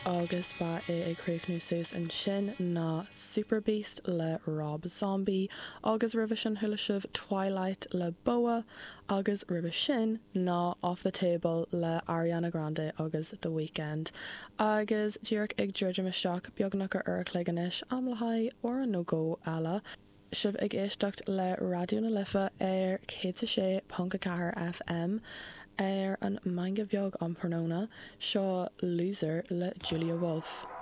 Agus ba é ag críochnú suas ansin ná Superbeast le Rob Zombie agus roimhe sin chuala sibh Twilight le Boa agus roimhe sin ná Off the Table le Ariana Grande agus The Weeknd. Agus díreach ag druidim isteach beagnach ar uair a chloig anois, am le haghaidh amhrán nó dhó eile. Sibh ag éisteacht le Raidió na Life ar 106.4 FM ar an Meangadh Beag um thráthnóna. Seo Loser le Julia Wolfe.